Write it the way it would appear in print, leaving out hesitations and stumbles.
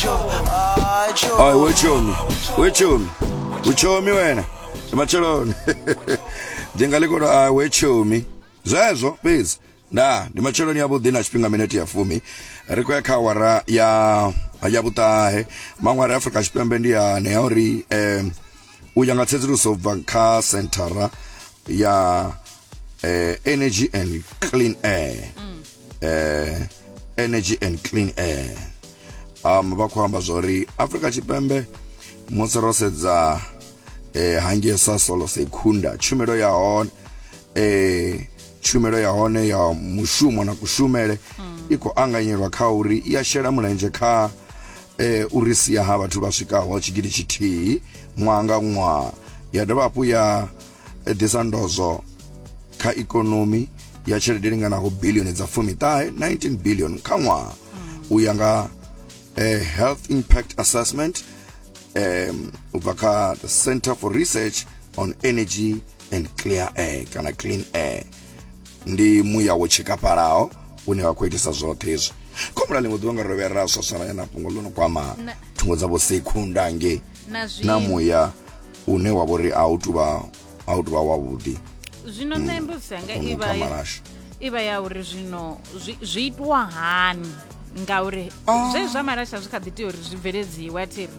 Ai we tshomi, we tshomi, u tshomi wena, ndi matsheloni. Ndi nga ḽi kono ai we tshomi. Zwezwo fhedzi nda ndi matsheloni avhuḓi na tshifhinga minete ya fumi ri khou ya kha awara ya ya vhuṱahe. Maṅwe a re Afrika Tshipembe ndi ane a uri u ya nga tsedzuluso bva kha senthara ya Energy and Clean Air, Energy and Clean Air, vha khou amba zwori Afrika Tshipembe musi ro sedza hangei Sasol Secunda, tshumelo ya hone tshumelo ya hone ya mushumo na kushumele i khou anganyelwa kha uri i a shela mulenzhe kha uri sia ha vhathu vha swikaho 1000 ṅwaha nga ṅwaha, ya dovha hafhu ya ḓisa ndozwo kha ikonomi ya tshelede linganaho bilioni dza fumiṱahe, 19 billion kha ṅwaha, u ya nga Health Impact Assessment u bva kha the Center for Research on Energy and Clear Air kana Clean Air. Ndi muya wo tshikafhalaho une wa khou itisa zwoṱhe hezwi. Khombula ḽiṅwe ḓuvha nga ro vhuya ra swaswalanya na fhungo ḽo no kwama thungo dza vho Sekhunda ngei na muya une wa vhori a u tuvha a u tuvha wavhuḓi. Zwino nṋe mbudziso yanga i vha ya uri zwino zwi itwa hani, ngauri zwe zwa malasha zwi kha ḓi tea uri zwi bveledziwe, a thi ri?